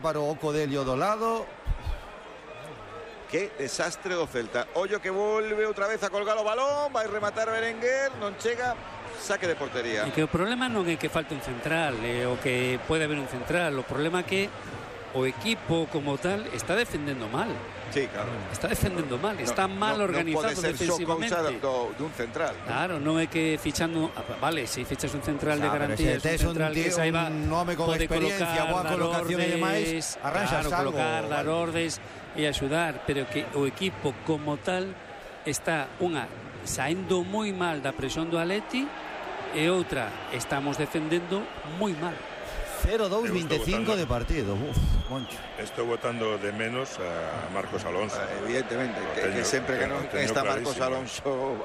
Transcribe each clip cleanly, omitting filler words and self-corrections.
Para o Codelio do lado. Que desastre do Celta. Ollo que volve outra vez a colgar o balón, vai rematar Berenguer, non chega, saque de portería. E que o problema non é que falte un central, o que pode haber un central, o problema é que o equipo como tal está defendendo mal. Sí, claro. Está defendendo mal, está mal organizado defensivamente. Non pode ser só cousa dun central. Claro, non é que fichando, vale, se fichas un central de garantías, un central que saiba un nome con experiencia, boa colocación e demais, arranxas algo. Colocar, dar ordes e axudar, pero que o equipo como tal está saendo moi mal da presión do Atleti e outra, estamos defendendo moi mal. 0-2-25 de partido. Moncho. Estou votando de menos a Marcos Alonso. Evidentemente, que sempre que non está Marcos Alonso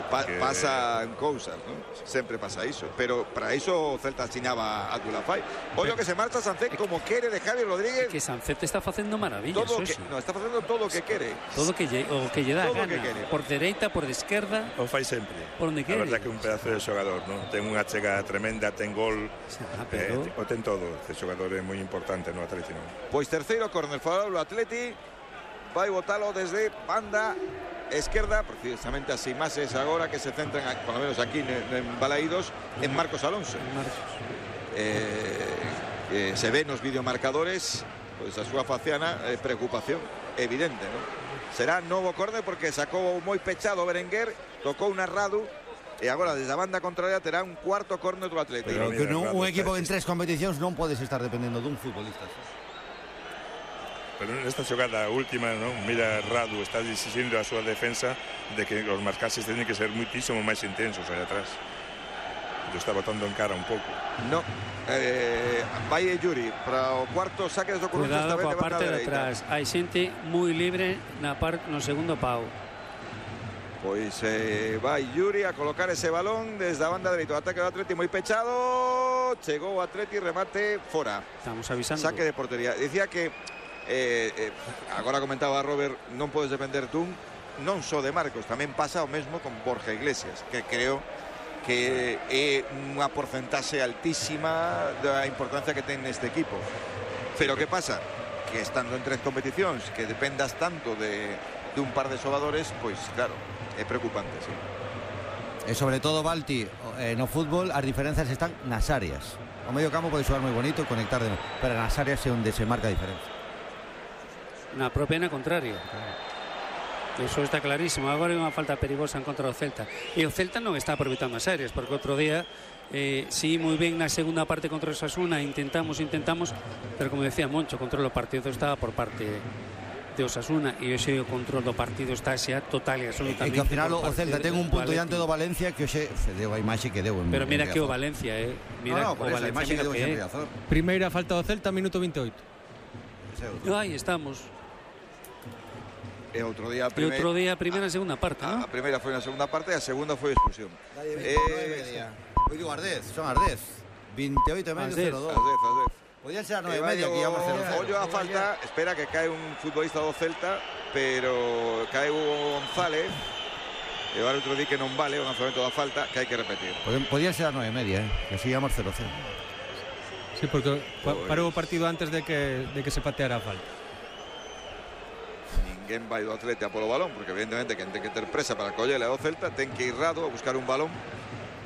pasan cousas, ¿no? Sempre pasa iso. Pero para iso o Celta asinaba a Dulafai. Ollo que se marcha Sancet como quere de Javi Rodríguez. Que Sancet está facendo maravillas, está facendo todo o que quere. Todo o que lle dá gana. Por dereita, por esquerda. O fai sempre. Por onde quere. A verdade que un pedazo de xogador, ¿no? Ten unha chega tremenda, ten gol. O ten todo. Este xogador é moi importante no Atleti, non? Pois terceiro córner favorable ao Atleti. Vai botalo desde banda esquerda, precisamente as imaxes agora que se centran, por lo menos aquí en Balaídos, en Marcos Alonso. Se ve nos videomarcadores, pois a súa faciana preocupación evidente, non? Será novo córner porque sacou moi pechado Berenguer, tocou na Radu. E agora desde a banda contraria terá un cuarto córner do Atlético. Pero que un equipo en 3 competicións non podes estar dependendo dun futbolista. Pero nesta xogada última, non? Mira, Radu está exigindo a súa defensa de que os marcaxes teñen que ser muitísimo máis intensos aí atrás. Yo está botando en cara un pouco. No, vai Yuri para o cuarto saque do Coruña esta vez de banda de atrás. Hai xente moi libre no segundo pau. Pois vai Yuri a colocar ese balón desde a banda dereita. O ataque do Atleti moi pechado. Chegou o Atleti, remate fora. Estamos avisando. Saque de portería. Dicía que agora comentaba Robert, non podes depender dun, non só de Marcos, tamén pasa o mesmo con Borja Iglesias, que creo que é unha porcentaxe altísima da importancia que ten neste equipo. Pero que pasa? Que estando en 3 competicións, que dependas tanto de un par de xogadores, pois claro, é preocupante, sí. E sobre todo, Balti, no fútbol as diferencias están nas áreas. O medio campo pode xogar moi bonito, conectar pero nas áreas é onde se marca a diferencia. Na propia na contraria. Eso está clarísimo. Agora é unha falta perigosa en contra do Celta. E o Celta non está aproveitando as áreas, porque outro día sí, moi ben na segunda parte contra o Osasuna, intentamos, pero como decía Moncho, o control do partido estaba por parte de Osasuna e hoxe o control do partido está xa total e absolutamente. E que ao final o Celta ten un punto diante do Valencia que hoxe deu a imaxe que deu en Pero mira que o Valencia, mira o Valencia, a imaxe que deu en Riazor. Primeira falta do Celta, minuto 28. Aí estamos. E outro día a primeira e segunda parte, non? A primeira foi na segunda parte e a segunda foi expulsión. Hoy digo Ardez, son Ardez. 28 e medio, 0-2. Ardez. Podían ser a 9:30 que íbamos 0-0. Ollo a falta, espera que cae un futbolista do Celta, pero cae Hugo González. E o árbitro di que non vale o lanzamento da falta, que hai que repetir. Podían ser a 9:30, que así íbamos 0-0. Sí, porque parou o partido antes de que se pateara a falta. Ninguén vai do Atleti a polo balón, porque evidentemente quen ten que ter presa para collele ao Celta ten que ir Rado a buscar un balón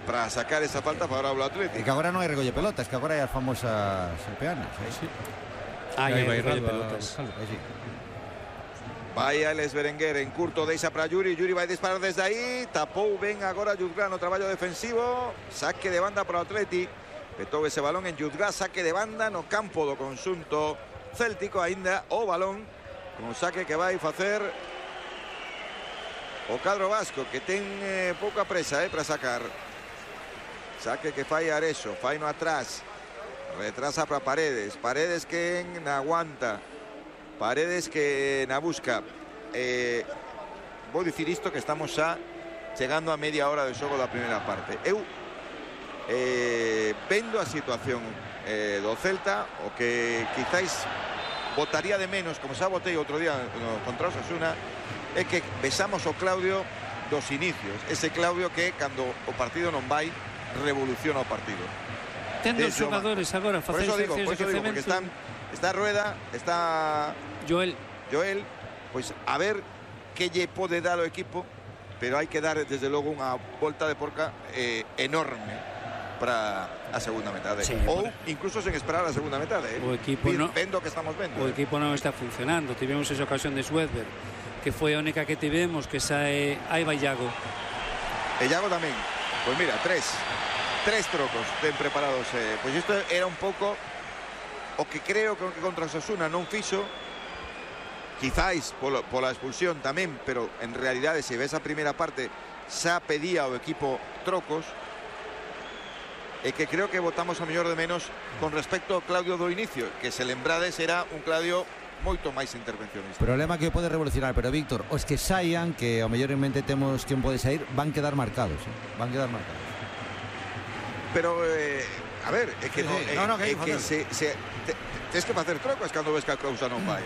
para sacar esa falta favorable ao Atleti. E que agora non hai recolle pelotas, que agora hai as famosas peanas. Sí. Aí vai recolle pelotas. Vai Alex Berenguer en curto, deixa para Yuri. Yuri vai disparar desde aí. Tapou ben agora Yudgrá no traballo defensivo. Saque de banda para o Atleti. Petou ese balón en Yudgrá, saque de banda no campo do conxunto céltico. Ainda o balón con saque que vai facer o cadro vasco, que ten pouca presa para sacar. Saque que fai Arexo, fai no atrás, retrasa para Paredes, Paredes que aguanta, Paredes que na busca. Vou dicir isto que estamos xa chegando a media hora de xogo da primeira parte. Eu vendo a situación do Celta, o que quizáis votaría de menos, como xa votei outro día contra Osasuna, é que besamos o Claudio dos inicios, ese Claudio que cando o partido non vai revoluciona o partido. Ten dos xogadores agora por eso digo, porque están Está Rueda, está Joel, pois a ver que lle pode dar o equipo, pero hai que dar desde logo unha volta de porca enorme para a segunda metade, sí, ou incluso sen esperar a segunda metade, o equipo vendo que estamos vendo. O equipo non está funcionando. Tivemos esa ocasión de Swedberg, que foi a única que tivemos, que sae, aí vai Iago. E Iago tamén. Pois mira, tres trocos ten preparados. Pois isto era un pouco o que creo que contra Osasuna non fixo, quizáis pola expulsión tamén, pero en realidade se ves a primeira parte xa pedía o equipo trocos, e que creo que votamos a mellor de menos con respecto ao Claudio do inicio, que se lembrades era un Claudio moito máis intervencionista. Problema que pode revolucionar, pero Víctor, os que saian, que ao mellor en mente temos quen pode sair, van quedar marcados, van quedar marcados. Pero a ver, é que tens que facer trocos cando ves que a cousa non vai.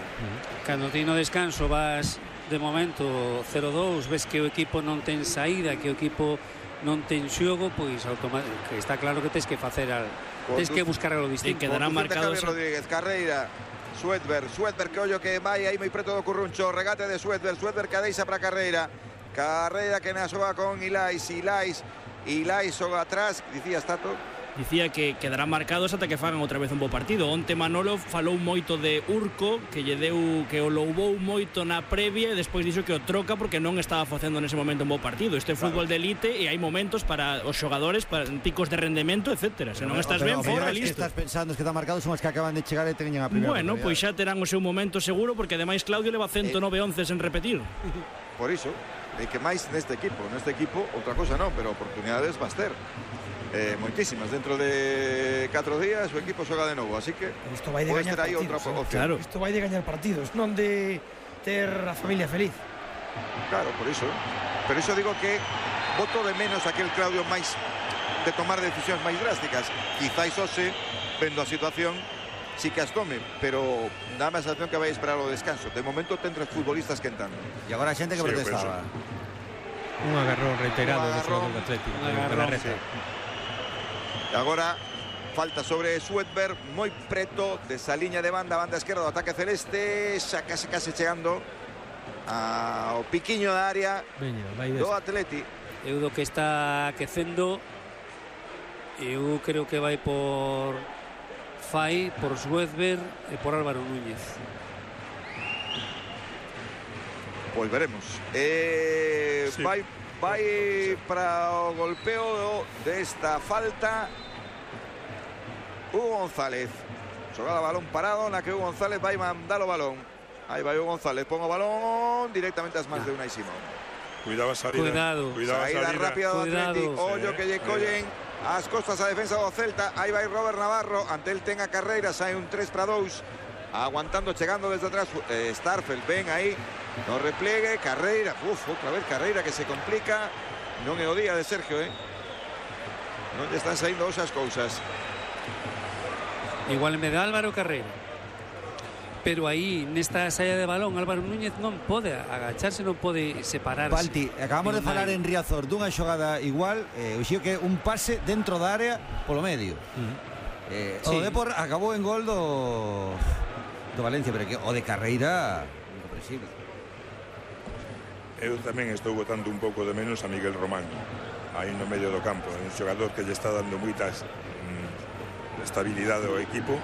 Cando ti no descanso vas de momento 0-2, ves que o equipo non ten saída, que o equipo non ten xogo, pois que está claro que tens que facer tens que buscar algo distinto. Quedarán marcados Rodríguez, Carreira, Swedberg que ollo que vai aí moi preto do Curruncho, regate de Swedberg que deixa para Carreira que na xoga con Ilais xoga atrás, dicías Tato. Dicía que quedarán marcados ata que fagan outra vez un bo partido. Onte Manolo falou moito de Urco, que lle deu, que o louvou moito na previa, e despois dixo que o troca porque non estaba facendo nese momento un bo partido. Este é fútbol de elite e hai momentos para os xogadores, para picos de rendemento, etcétera. Se non estás ben, fora, listo. Estás pensando que están marcados son os que acaban de chegar e teñen a primeira. Bueno, pois xa terán o seu momento seguro, porque ademais Claudio leva 109 onces en repetir. Por iso, e que máis neste equipo, outra cosa non, pero oportunidades vas ter. Moitísimas, dentro de 4 días o equipo xoga de novo, así que isto vai de gañar partidos, claro. Isto vai de gañar partidos, non de ter a familia feliz. Claro, por iso. Pero iso digo que voto de menos aquel Claudio máis de tomar decisións máis drásticas. Quizáis hoxe, vendo a situación, sí que as tome, pero dá a sensación que vai esperar o descanso. De momento ten 3 futbolistas que entran. E agora a xente que protestaba. Un agarrón reiterado do xogador do Atlético. Agora falta sobre Swedberg, moi preto desa liña de banda esquerda do ataque celeste, xa case chegando ao piquiño da área do Atleti. Eu do que está aquecendo, eu creo que vai por Fai, por Swedberg e por Álvaro Núñez. Pois veremos. Sí. Vai para o golpeo desta falta Hugo González. Xogada balón parado na que Hugo González vai mandar o balón. Aí vai Hugo González, pon o balón directamente ás mans de Unai Simón. Cuidado a salida. Saída rápida do Atlético. Ollo que lle collen as costas a defensa do Celta. Aí vai Robert Navarro, ante el ten a Carreira, sai un 3-2. Aguantando, chegando desde atrás Starfelt, ven aí no repliegue, Carreira, outra vez Carreira que se complica. Non é o día de Sergio, non lle están saindo esas cousas. Igual me da Álvaro Carreira, pero aí nesta saída de balón Álvaro Núñez non pode agacharse, non pode separarse. Balti, acabamos de falar en Riazor dunha xogada igual, o xío que un pase dentro da área polo medio. O Depor acabou en gol do Valencia, pero que o de Carreira incomprensible. Eu tamén estou botando un pouco de menos a Miguel Román aí no medio do campo, un xogador que lle está dando moita estabilidade ao equipo,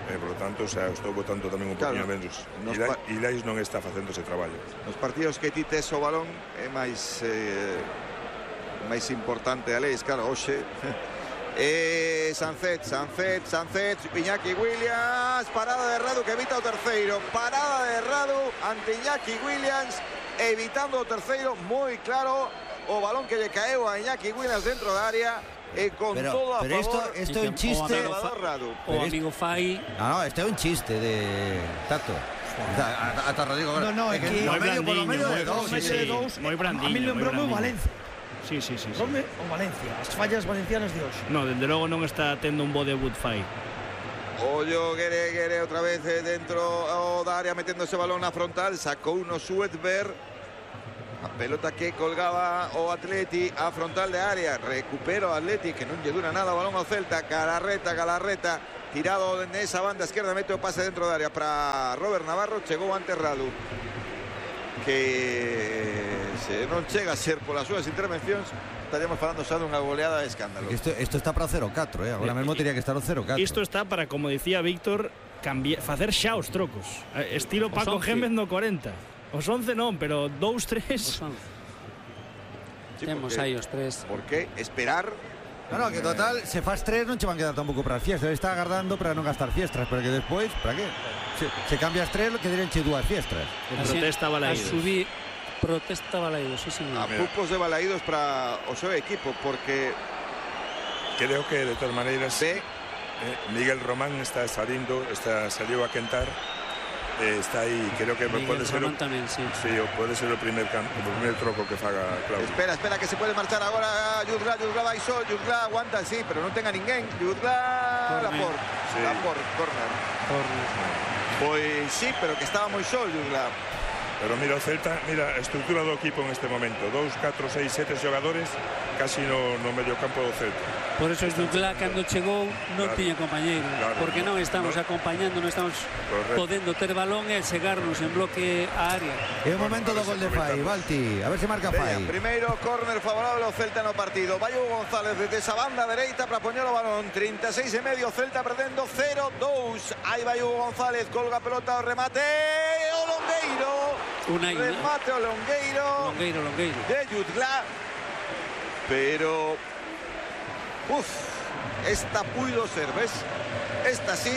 e por lo tanto estou botando tamén un poquinho menos. Ilais non está facendo ese traballo. Nos partidos que ti tes o balón é máis importante a leis, claro, hoxe Sancet, Iñaki Williams, parada de Radu que evita o terceiro, parada de Radu ante Iñaki Williams, evitando o terceiro, moi claro o balón que lle caeu a Iñaki Williams dentro da área e con todo a favor. Isto é un chiste. O amigo Fai. No, isto é un chiste de Tato. Ata Rodrigo. No, é que moi brandiño, moi brandiño. A mí lembrou o Valencia. Sí. Rome o Valencia, as fallas valencianas de hoxe. No, dende logo non está tendo un bo debut Fai. Ollo, Guere outra vez dentro da área metendo ese balón na frontal, sacou uno Swedberg. A pelota que colgaba o Atleti a frontal de área, recupera o Atleti que non lle dura nada o balón ao Celta. Galarreta tirado nesa banda esquerda, mete o pase dentro da área para Robert Navarro, chegou ante Radu, que se non chega a ser polas súas intervencións, estaríamos falando xa dunha goleada de escándalo. Isto está para o 0-4, agora mesmo teria que estar o 0-4. Isto está para, como dicía Víctor, facer xa os trocos, estilo Paco Gémez no 40. Os 11 non, pero 2-3. Sí, temos aí os 3. Por que esperar? No, que total, se faz 3 non che van quedar tampouco para as fiestas. Ele está agardando para non gastar fiestas, pero que despois, para que? Se cambias 3, que direnche 2 fiestas. Protesta Balaídos. Protesta Balaídos, sí, señor. A pupos de Balaídos para o seu equipo, porque creo que de todas maneiras Miguel Román salió a quentar, está aí, creo que Miguel pode ser Román tamén, sí. Sí, pode ser o primer troco que faga Claudio. espera que se pode marchar agora Yudla vai só, Yudla aguanta, sí, pero non tenga ninguén. Yudla, Laporte, sí. Laporte, corner. Pois sí, pero que estaba moi só Yudla. Pero mira o Celta, mira a estrutura do equipo en este momento, 2, 4, 6, 7 xogadores casi no medio campo do Celta. Por eso es Dudlá cando chegou non tiña compañeiro, porque non estamos acompañando, non estamos podendo ter balón e chegarnos en bloque a área. É o momento do gol de Fai, Balti, a ver se marca Fai. Primeiro córner favorable ao Celta no partido. Vai Hugo González desde esa banda dereita para poñer o balón, 36 e medio, Celta perdendo 0-2. Aí vai Hugo González, colga a pelota, o remate, o Longueiro. Remate o Longueiro de Yudla, pero esta puido ser, ves? Esta sí.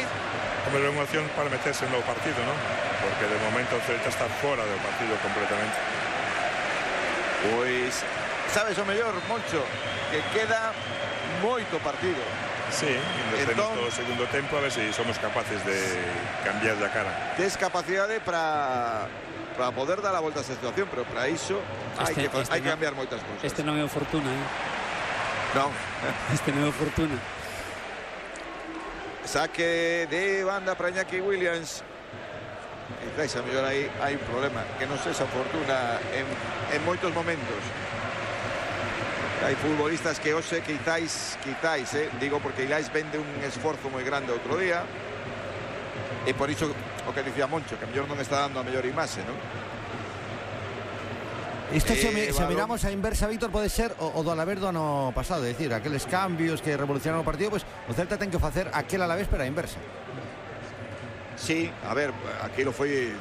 Como é unha opción para meterse no partido, non? Porque de momento o Celta está fora do partido completamente. Pois, sabes o mellor, Moncho, que queda moito partido. Sí, entón, todo o segundo tempo a ver se somos capaces de cambiar a cara. Tes capacidade para poder dar a volta a esa situación, pero para iso hai que cambiar moitas cousas. Este non é o Fortuna, Non. Este non é o Fortuna. Saque de banda para Iñaki Williams. Quizás a mellor aí hai un problema, que non sexa Fortuna en moitos momentos. Hai futbolistas que hoxe quizáis, digo porque Ilais vende un esforzo moi grande outro día, e por iso o que dicía Moncho, que a mellor non está dando a mellor imaxe, non? Isto se miramos a inversa, Víctor, pode ser o do Alavés do ano pasado, é dicir, aqueles cambios que revolucionaron o partido, pois o Celta ten que facer aquel Alavés pero a inversa. Sí, a ver, aquilo foi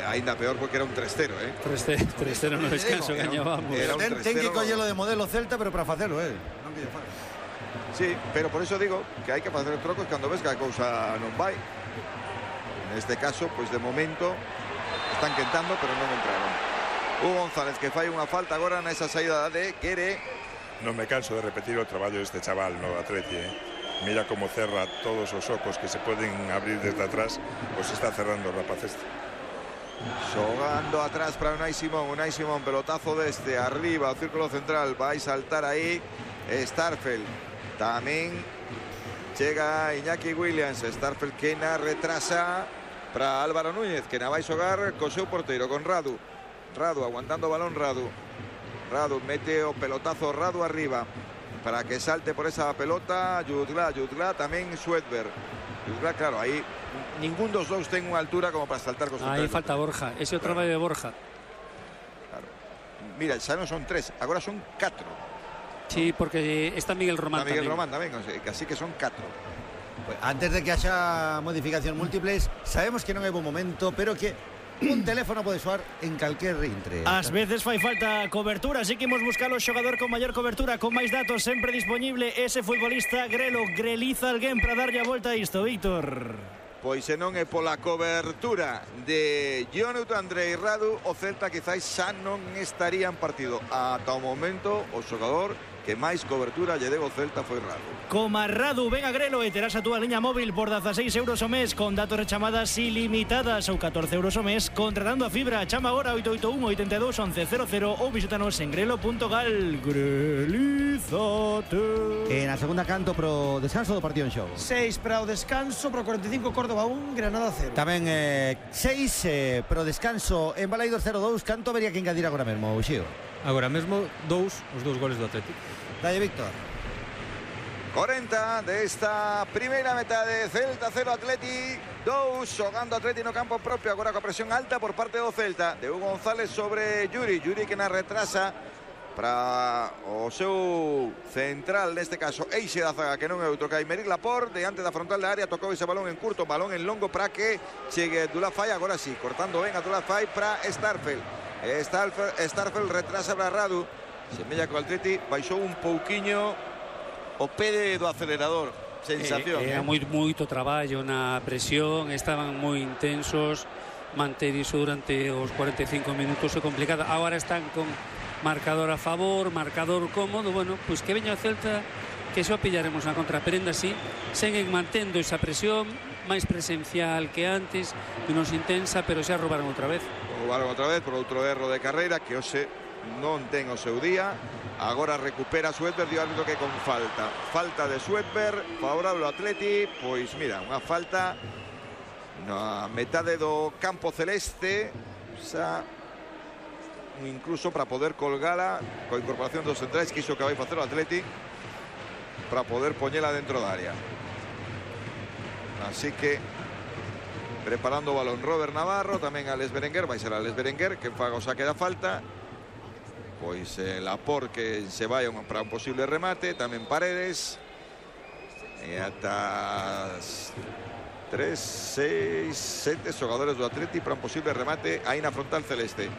aínda peor porque era un 3-0, 3-0 no descanso, gañábamos. Ten que collelo de modelo Celta, pero para facelo, non que lle faz. Sí, pero por eso digo que hai que facer trocos cando ves que a cousa non vai. Neste caso, pois de momento están quentando, pero non entraron. Hugo González que fai unha falta agora nesa saída de Guere. Non me canso de repetir o traballo deste chaval no Atleti, Mira como cerra todos os ocos que se poden abrir desde atrás, os está cerrando o rapaz este. Xogando atrás para Unai Simón, pelotazo deste arriba ao círculo central, vai saltar aí Starfelt. Tamén chega Iñaki Williams, Starfelt que na retrasa para Álvaro Núñez, que na vai xogar co seu porteiro, con Radu aguantando o balón. Radu mete o pelotazo, Radu arriba para que salte por esa pelota Yudla, tamén Suedberg. Yudla, claro, aí ningún dos dous ten unha altura como para saltar con su aí falta Borja, ese outro traballo de Borja. Claro. Mira, xa non son 3, agora son 4. Sí, porque está Miguel Román tamén. O sea, así que son 4. Pues antes de que haya modificación múltiples, sabemos que non é bom momento, pero que un teléfono pode soar en calquer intre. Ás veces fai falta cobertura, así que imos buscar o xogador con maior cobertura, con máis datos, sempre disponible ese futbolista. Grelo, greliza alguén para darlle a volta a isto, Víctor. Pois se non é pola cobertura de Jonathan Andrei Radu, o Celta quizás xa non estaría en partido. Ata o momento, o xogador que máis cobertura lle deu o Celta foi Radu. Coma Radu, ven a Grelo e terás a túa liña móvil por 16 euros o mes, con datos e chamadas ilimitadas, ou 14 euros o mes contratando a fibra. Chama agora 881 82 11 00 ou visítanos en grelo.gal. Grelízate. Na segunda canto pro descanso do partido en xogo. 6 para o descanso, pro 45 Córdoba 1, Granada 0. Tamén 6 pro descanso en Balaídos 0-2. Canto habería que engadir agora mesmo, Uxío? Agora mesmo os dous goles do Atlético. Dalle, Víctor. 40 desta primeira metade. Celta 0, Atleti 2, xogando Atleti no campo propio, agora coa presión alta por parte do Celta, de Hugo González sobre Yuri que na retrasa para o seu central, neste caso eixe da zaga, que non é outro que Aymeric Laporte, diante da frontal da área, tocou ese balón en curto, balón en longo para que chegue Abdullah Faye, agora sí, cortando ben Abdullah Faye para Starfelt. Starfelt retrasa para Radu, semella que o Atleti baixou un pouquiño o pé do acelerador, sensación. Era moito traballo na presión, estaban moi intensos, manter iso durante os 45 minutos é complicado. Agora están con marcador a favor, marcador cómodo, bueno, pois que veña o Celta, que xa o pillaremos na contra, pero ainda así seguen mantendo esa presión máis presencial que antes, menos intensa, pero xa roubaron outra vez por outro erro de carreira que hoxe non ten o seu día. Agora recupera Sweatberg, dio árbitro que con falta de Sweatberg, favorable ao Atleti. Pois mira, unha falta na metade do campo celeste, xa incluso para poder colgala coa incorporación dos centrais, que iso que vai facer o Atleti para poder poñela dentro da área. Así que preparando o balón Robert Navarro, tamén Alex Berenguer, vai ser Alex Berenguer que faga o saque da falta. Pois Laporte que se vai para un posible remate, tamén Paredes, e ata 3, 6, 7 xogadores do Atleti para un posible remate aí na frontal celeste.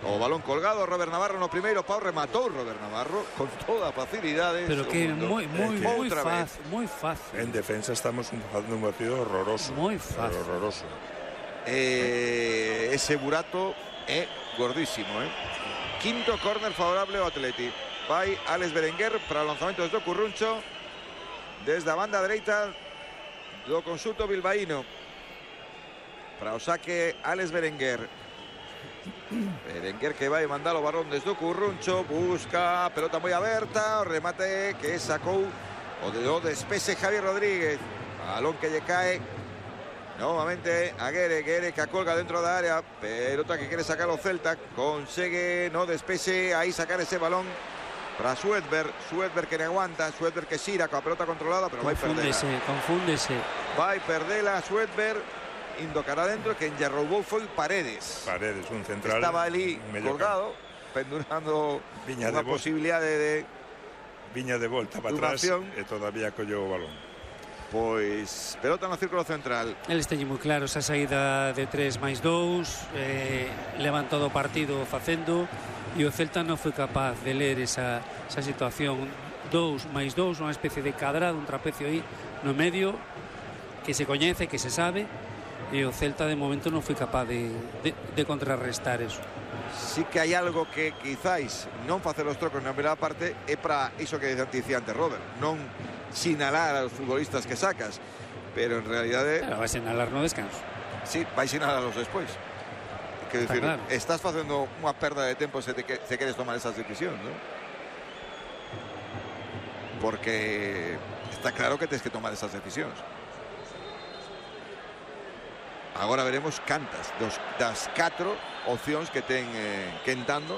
O balón colgado, Robert Navarro no primeiro pau, rematou Robert Navarro con toda a facilidade. Pero que moi fácil. En defensa estamos facendo un partido horroroso. Moi fácil. Horroroso. Ese burato é gordísimo, Quinto córner favorable ao Atleti. Vai Alex Berenguer para o lanzamento desde o Curruncho, desde a banda dereita do conxunto bilbaíno. Para o saque Alex Berenguer. Berenguer que vai mandar o balón desde o Curruncho, busca a pelota moi aberta, o remate que sacou o despese Javi Rodríguez, balón que lle cae novamente a Guere que acolga dentro da área, pelota que quere sacar o Celta, consegue no despese aí sacar ese balón para Sweatberg que non aguanta, Sweatberg que xira coa pelota controlada, pero vai perdela. Confúndese. Vai perdela Sweatberg, indo cara adentro, que en lle roubou foi Paredes, un central. Estaba ali colgado, pendurando unha posibilidade de viña de volta para atrás e todavía colleu o balón. Pois pelota no círculo central. El esteñe moi claro esa saída de 3+2, levantado o partido facendo, e o Celta non foi capaz de ler esa situación. 2+2, unha especie de cadrado, un trapecio aí no medio que se coñece, que se sabe, e o Celta de momento non foi capaz de contrarrestar eso. Sí que hai algo que quizáis non facer os trocos na primeira parte é para iso que dicía antes Robert, non sinalar a los futbolistas que sacas, pero en realidade vai sinalar no descanso. Sí, vai sinalarlos despois. Quero dicir, claro, estás facendo unha perda de tempo se queres tomar esas decisións, ¿no? Porque está claro que tens que tomar esas decisións. Agora veremos cantas das 4 opcións que ten Quentando,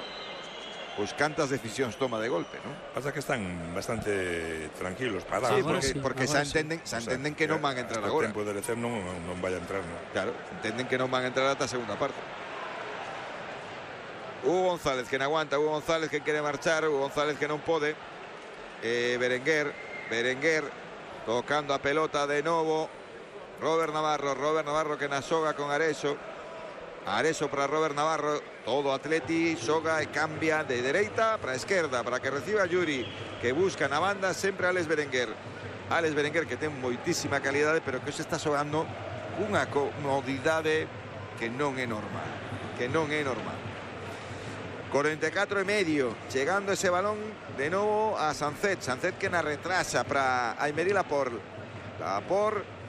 pois cantas decisións toma de golpe, non? Pasa que están bastante tranquilos, parados. Sí, porque xa entenden que non van a entrar agora. O tempo de lecer non vai a entrar, non? Claro, entenden que non van a entrar ata a segunda parte. Hugo González que non aguanta, Hugo González que quere marchar, Hugo González que non pode. Berenguer tocando a pelota de novo. Robert Navarro que na xoga con Areso para Robert Navarro, todo Atleti xoga e cambia de dereita para a esquerda para que reciba Yuri, que busca na banda sempre Alex Berenguer que ten moitísima calidade, pero que se está xogando unha comodidade que non é normal, 44,5, chegando ese balón de novo a Sancet que na retrasa para Aymeric Laporte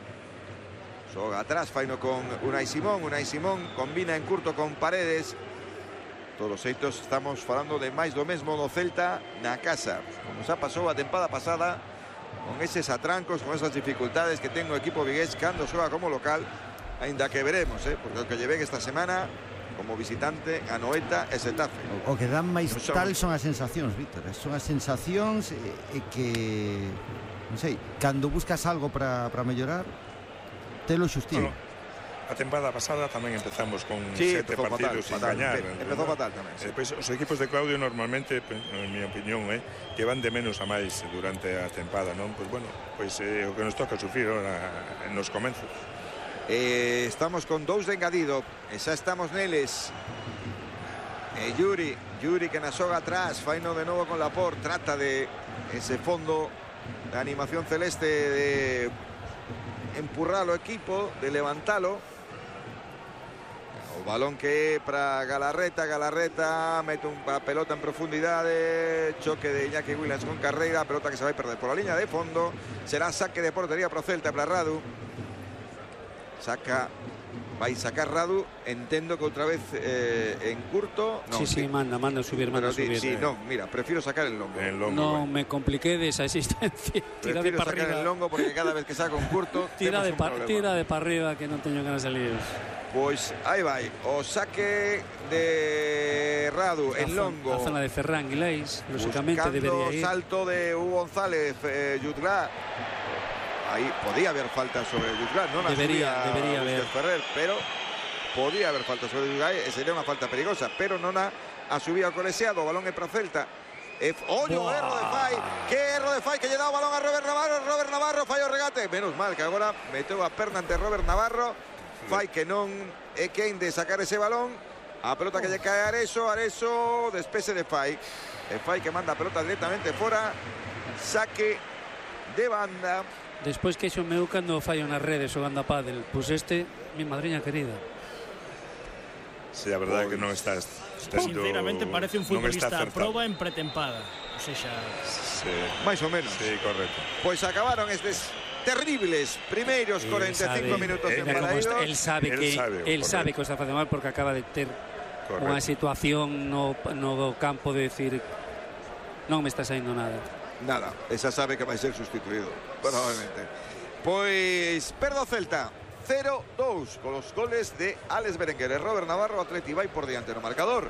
xoga atrás, faino con Unai Simón combina en curto con Paredes. Todos os xeitos estamos falando de máis do mesmo do Celta na casa, como xa pasou a tempada pasada, con eses atrancos, con esas dificultades que ten o equipo vigués cando xoga como local, aínda que veremos, porque o que lle ven esta semana como visitante a Noeta e Xetafe. O que dan máis tal son as sensacións, Víctor, son as sensacións que non sei, cando buscas algo para mellorar, telo xustío. A temporada pasada tamén empezamos con 7 partidos sin gañar. Empezou fatal tamén. Pois os equipos de Claudio normalmente, en mi opinión, que van de menos a máis durante a tempada, non? Pois bueno, pois o que nos toca sufrir nos comenzos. Estamos con 2 de engadido, e xa estamos neles. Yuri que na xoga atrás, faino de novo con Laporte, trata de ese fondo de animación celeste de empurrar o equipo, de levantalo. O balón que é para Galarreta mete unha pelota en profundidade, choque de Iñaki Williams con Carreira, pelota que se vai perder por la línea de fondo, será saque de portería para o Celta, para Radu. Vai sacar Radu, entendo que outra vez en curto. No, sí, manda subir. Sí, no, mira, prefiero sacar el longo. No me compliqué de esa existencia. Tira de para sacar arriba. El longo porque cada vez que saco un curto tira de para arriba, que non teño ganas de líos. Pois aí vai, o saque de Radu en longo. A zona de Ferran Guilais, lógicamente debería ir. Salto de Hugo González, Jutgla. Ahí podía haber falta sobre Jutgla, non debería haber Ferrer, pero podía haber falta sobre Jutgla, sería unha falta perigosa, pero non a subida ao coleseado, o balón é para Celta. Ollo, erro de Fai, que erro de Fai, que lle dá o balón a Robert Navarro falla o regate, menos mal que agora meteu a perna ante Robert Navarro. Fai que non é quen de sacar ese balón, a pelota que lle cae a Areso, despese de Fai, Fai que manda a pelota directamente fora, saque de banda. Despois que xo meu cando fallo nas redes xogando a pádel, pois mi madriña querida. Sí, a verdade que non está sinceramente parece un futbolista a proba en pretempada, ou seja, máis ou menos. Sí, correcto. Pois acabaron estes terribles primeiros 45 minutos en Paraíso. Él sabe que o está facendo mal porque acaba de ter unha situación no campo de decir non me está saindo nada. Esa sabe que vai ser sustituído probablemente. Pois perdo Celta 0-2 con los goles de Alex Berenguer e Robert Navarro. Atleti vai por diante no marcador.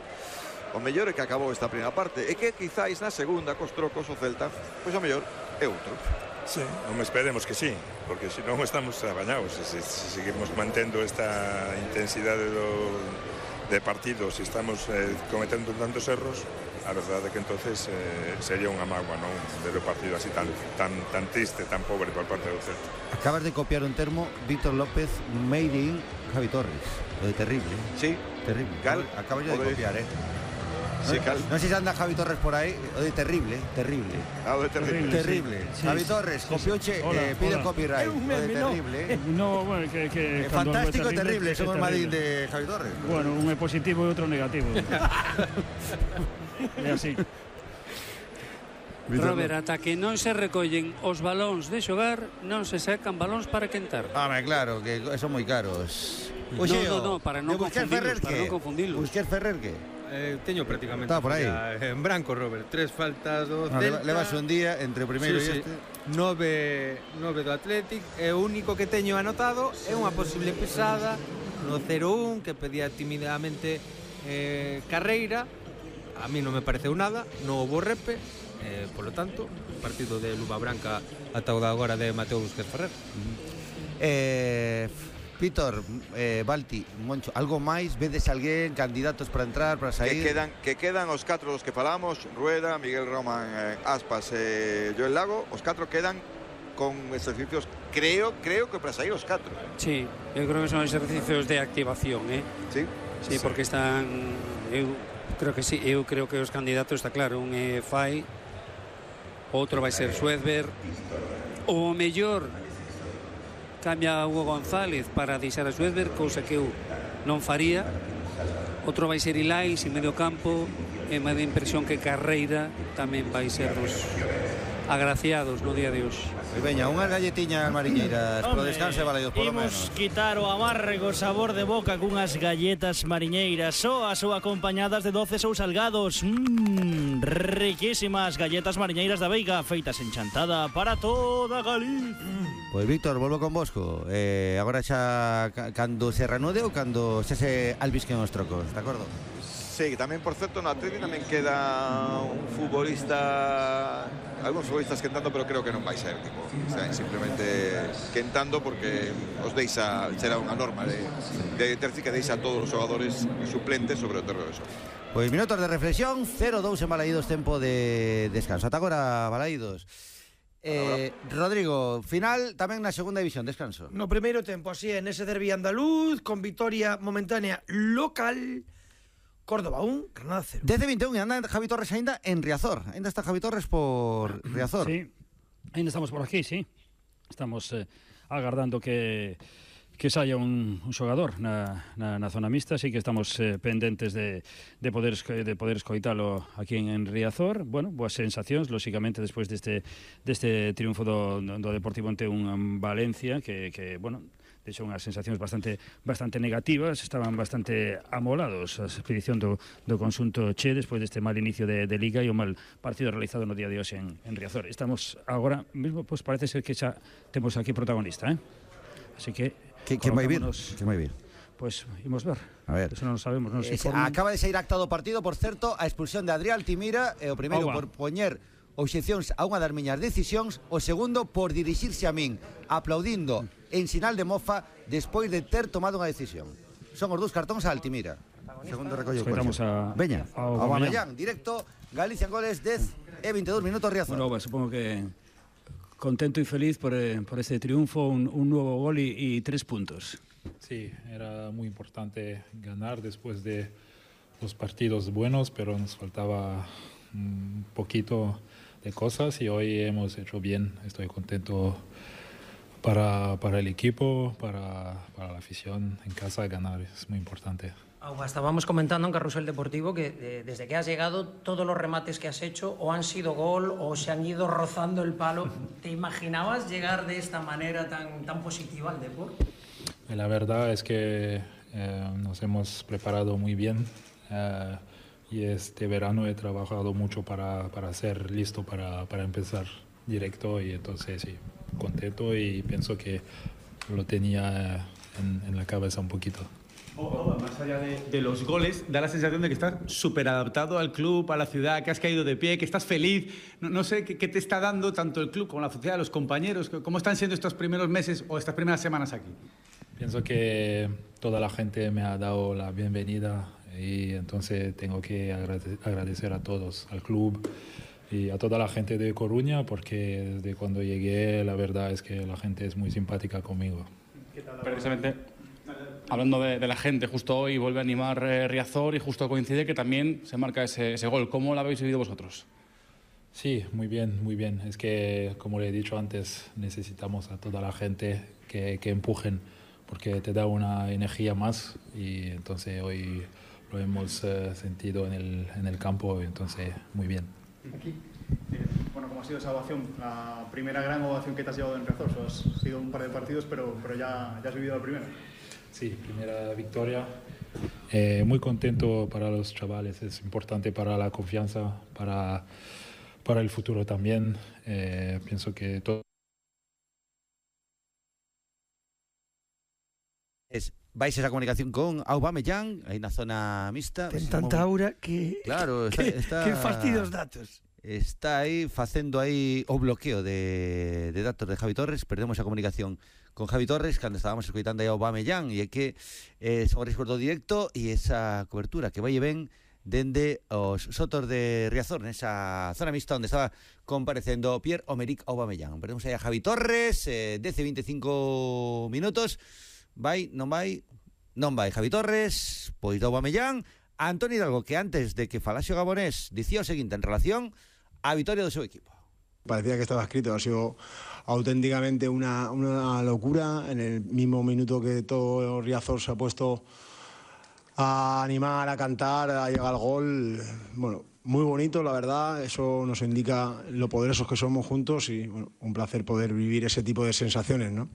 O mellor é que acabou esta primeira parte e que quizáis na segunda cos trocos o Celta pois o mellor é outro. Sí, non esperemos que sí, porque se non estamos abañados, se seguimos mantendo esta intensidade de partido, se estamos cometendo tantos erros, a verdade é que entonces sería unha mágoa, non, ver o partido así tan triste, tan pobre por parte do Celta. Acabas de copiar un termo, Víctor López made in Javi Torres, o de terrible. Sí, terrible. Acabo yo de copiar, Sí, no sé si anda Javi Torres por ahí, o de terrible. O de terrible. Sí. Javi Torres, copiouche, pide copyright. O de terrible. No, bueno, que fantástico e terrible, somos Madrid de Javi Torres. Bueno, un é positivo e outro negativo. É así. Robert, ata que non se recollen os balóns de xogar, non se sacan balóns para quentar. Claro, que son moi caros. No, para non confundilos. Busquer Ferrer, que? Teño prácticamente está por aí en branco, Robert. 3 faltas do Celta. Levas un día entre o primeiro e este. 9 do Athletic. E o único que teño anotado é unha posible pesada no 0-1 que pedía timidamente Carreira. A mí non me pareceu nada, non houbo repe, polo tanto, partido de Luva Branca ata o de agora de Mateo Busquets Ferrer. Víctor, Balti, Moncho, algo máis? Vedes alguén, candidatos para entrar, para sair? Que quedan os 4 dos que falamos, Rueda, Miguel Roman, Aspas e Joel Lago. Os 4 quedan con exercicios, creo que para sair os 4. Sí, eu creo que son exercicios de activación, Sí, porque están... Eu creo que os candidatos, está claro, un é Fai, outro vai ser Suedberg, o mellor cambia a Hugo González para deixar a Suedberg, cousa que eu non faría. Outro vai ser Ilais en medio campo, e me dá impresión que Carreira tamén vai ser dos agraciados no día de hoxe. Veña, unhas galletiñas mariñeiras pro descanso validos polo menos. Imos quitar o amargo sabor de boca cunhas galletas mariñeiras, soas ou acompañadas de doces ou salgados. Riquísimas galletas mariñeiras da Veiga, feitas en Chantada para toda Galicia. Pois Víctor, volvo con vosco. Agora xa cando se reanude ou cando xa se albisquen os trocos, de acordo? Sí, tamén, por certo, no Atleti tamén queda un futbolista, algúns futbolistas quentando, pero creo que non vai ser, tipo, simplemente quentando porque os deixa, será unha norma de Terzi que deixa a todos os xogadores suplentes sobre o terreno de xogo. Pois minutos de reflexión, 0-2 en Balaídos, tempo de descanso. Ata agora, Balaídos. Rodrigo, final tamén na segunda división, descanso. No primeiro tempo, así é, nese derbi andaluz, con vitoria momentánea local, Córdoba 1, Granada 0. 10-21 e anda Javi Torres aínda en Riazor. Aínda está Javi Torres por Riazor. Sí, aínda estamos por aquí, sí. Estamos agardando que saia un xogador na zona mixta, así que estamos pendentes de poder escoitalo aquí en Riazor. Bueno, boas sensacións, lóxicamente, despois deste triunfo do Deportivo ante un Valencia que bueno, deixou unhas sensacións bastante negativas, estaban bastante amolados a expedición do conxunto che despois deste mal inicio de Liga e o mal partido realizado no día de hoxe en Riazor. Estamos agora mesmo, pois parece ser que xa temos aquí protagonista, así que ¿Quién vai vir? Pois imos ver. A ver. Eso non sabemos, non se acaba de sair acta do partido, por certo, a expulsión de Adrián Altimira, o primeiro por poñer obxeccións a unha das miñas decisións, o segundo por dirixirse a min aplaudindo en sinal de mofa despois de ter tomado unha decisión. Son os dous cartóns a Altimira. Segundo recollo. Veña, Aubameyang, directo, Galicia en goles, 10 e 22 minutos Riazor. Bueno, supongo que contento y feliz por este triunfo, un nuevo gol y 3 puntos. Sí, era muy importante ganar después de los partidos buenos, pero nos faltaba un poquito de cosas y hoy hemos hecho bien. Estoy contento para el equipo, para la afición en casa, ganar es muy importante. Auba, estábamos comentando en Carrusel Deportivo que desde que has llegado todos los remates que has hecho o han sido gol o se han ido rozando el palo. ¿Te imaginabas llegar de esta manera tan positiva al deporte? La verdad es que nos hemos preparado muy bien y este verano he trabajado mucho para ser listo para empezar directo y entonces sí, contento y pienso que lo tenía en la cabeza un poquito. Más allá de los goles, da la sensación de que estás súper adaptado al club, a la ciudad, que has caído de pie, que estás feliz. No sé qué te está dando tanto el club como la sociedad, los compañeros. ¿Cómo están siendo estos primeros meses o estas primeras semanas aquí? Pienso que toda la gente me ha dado la bienvenida y entonces tengo que agradecer a todos, al club y a toda la gente de Coruña, porque desde cuando llegué la verdad es que la gente es muy simpática conmigo. Precisamente, hablando de la gente, justo hoy vuelve a animar Riazor y justo coincide que también se marca ese gol. ¿Cómo lo habéis vivido vosotros? Sí, muy bien, muy bien. Es que, como le he dicho antes, necesitamos a toda la gente que empujen, porque te da una energía más y entonces hoy lo hemos sentido en el campo y entonces muy bien. Aquí. Bueno, ¿cómo ha sido esa ovación? La primera gran ovación que te has llevado en Riazor. Has sido un par de partidos, pero ya has vivido la primera. Sí, primera victoria. Muy contento para los chavales. Es importante para la confianza, para el futuro también. Pienso que todo... Vais esa comunicación con Aubameyang, aí na zona mixta. Ten tanta aura que... Claro, está que fastidia os datos. Está aí facendo aí o bloqueo de datos de Javi Torres. Perdemos a comunicación con Javi Torres cando estábamos escoitando aí a Aubameyang, e é que o risco directo e esa cobertura que vai e ven dende os sotos de Riazor, nesa zona mixta onde estaba comparecendo Pierre-Emerick Aubameyang. Perdemos aí a Javi Torres, 10-25 minutos. Vai, non vai? Non vai Javi Torres, pois do Aubameyang. Antoni Hidalgo, que antes de que falase o gabonés dicía o seguinte en relación á vitoria do seu equipo. Parecía que estaba escrito, ha sido auténticamente una locura. En el mismo minuto que todo Riazor se ha puesto a animar, a cantar, a llegar al gol, bueno, muy bonito, la verdad. Eso nos indica lo poderosos que somos juntos y bueno, un placer poder vivir ese tipo de sensaciones, ¿no?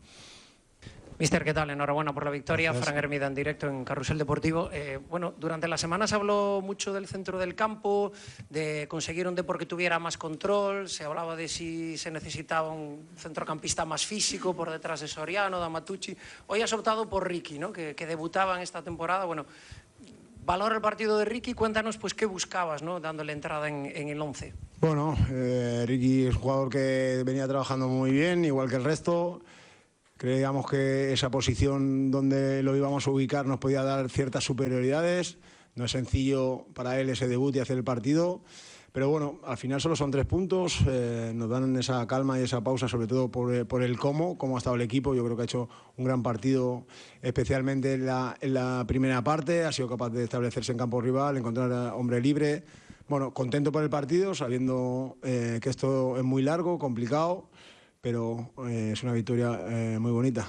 Mister, ¿qué tal? Enhorabuena por la victoria. Gracias. Fran Hermida en directo en Carrusel Deportivo. Bueno, durante la semana se habló mucho del centro del campo, de conseguir un Depor que tuviera más control. Se hablaba de si se necesitaba un centrocampista más físico por detrás de Soriano, de Amatucci. Hoy has optado por Ricky, ¿no? Que debutaba en esta temporada. Bueno, Valora el partido de Ricky, cuéntanos pues qué buscabas, ¿no? Dándole entrada en el 11. Bueno, Ricky es un jugador que venía trabajando muy bien, igual que el resto. Creíamos que esa posición donde lo íbamos a ubicar nos podía dar ciertas superioridades. No es sencillo para él ese debut y hacer el partido. Pero bueno, al final solo son 3 puntos, nos dan esa calma y esa pausa, sobre todo por el cómo ha estado el equipo. Yo creo que ha hecho un gran partido, especialmente en la primera parte. Ha sido capaz de establecerse en campo rival, encontrar a hombre libre. Bueno, contento por el partido, sabiendo que esto es muy largo, complicado, pero es una victoria muy bonita.